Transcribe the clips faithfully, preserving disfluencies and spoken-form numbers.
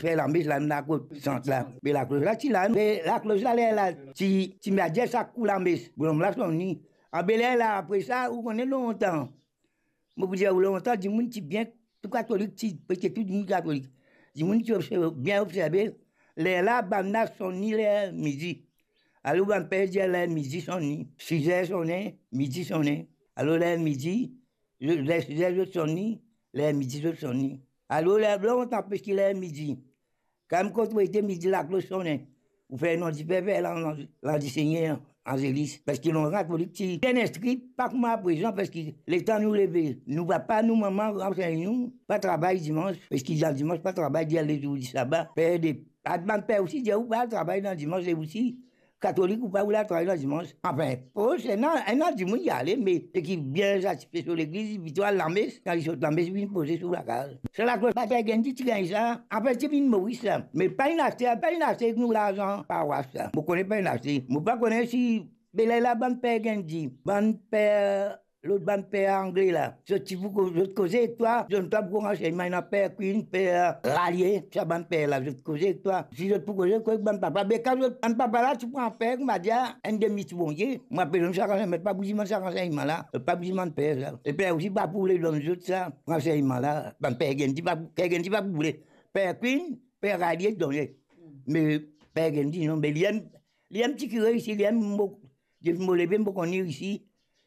fer lames la, laklos sant la. Me laklos la ti la, me laklos la, lerla ti, ti madir sa kou lames, bonom la sonni. Abe lerla, apre sa, ou kone lontan, mo pou dir ou lontan, dimoun ti bien, tou katolik ti, preske tou dimoun katolik, dimoun ti observe, bien observe, lerla, bannla sonni ler midi. Alor bann per dir ler midi sonni, sizer sone, midi sone. Alor ler midi, ler sizer zot sonni, ler midi zot sonni. Alor ler lontan, preske ler midi, kan kot ou ete, midi laklos sone, ou fer non dife, fer lan-, landisegner, anzelis. Parski lontan katolik ti bien instri, pa kouma aprezan, parski letan nou leve, nou papa, nou mama ansegn nou, pa travay dimans, parski dan dimans pa travay, dir lezour di saba. Per de, bann per osi dir ou pa al travay dan dimans, e osi, katolik, ou pa oule al travay dan dimans. Anfin, pros, ena, ena dimoun ti ale, me seki bien satife so legliz, li plito al lames, kan li sot lames, li vinn poze so lakaz. Sa laklos, bann per Genndy ti gagn sa, anfin, ti vinn Moris sa. Me pa inn aste, pa inn aste ek nou larzan parwas sa. Mo kone pa inn aste. Mo pa kone si, be lerla bann per Genndy, bann per, lot bann per angle la, zot ti pou ko-, zot koze ek twa, zot donn twa boukou ransegnman, ena per Queen, per Rallier, sa bann per la, zot koze ek twa. Si zot pou koze, koz ek bann papa, be kan zot, bann papa la ti pran per, koumadir, enn demi ti Bondie, mo apel zot sa ransegnman, pa pou dir mwa sa ransegnman la, pa pou dir mwa per sa. E per osi pa pou oule donn zot sa ransegnman la, bann per Genndy pa, per Genndy pa pou oule. Per Queen, per Rallier donn li. Me per Genndy non, me li enn, li enn ti kire isi, li enn mo, depi mo leve, mo konn li isi,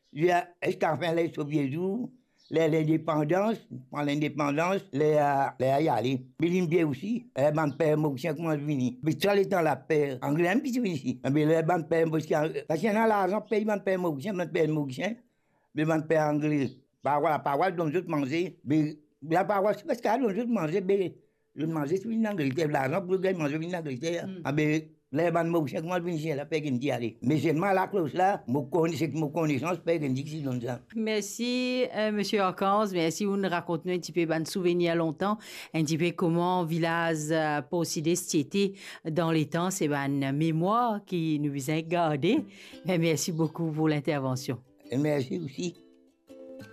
ziska fin ler so vie zour, ler lindepandans, pran lindepandans, ler, ler li ale. Me li vinn vie osi, ler bann per Morisien koumans vini. Me sa letan la per angle mem ki ti vinn isi. Me ler bann per Morisien, parski ena larzan pey bann per Morisien, bann per Morisien, me bann per angle, parwas, parwas donn zot manze, be laparwas ti pa ti kapav donn zot manze, be zot manze ti vinn Angleter, larzan pou zot gagn manze vinn Angleter. Hmm. Abe, ler bann Morisien koumans vinn isi la, per Genndy ale. Me selman laklos la, mo kone, seki mo konesans, per Genndy ki ti donn sa. Merci, euh, Monsieur Archange, merci, ou rakont nou enn tipe bann souvenir lontan, enn tipe kouma vilaz, euh, Porcides ti ete dan letan, se bann memwar ki nou bizin garde. Me merci beaucoup pour l'intervention. E mersi osi.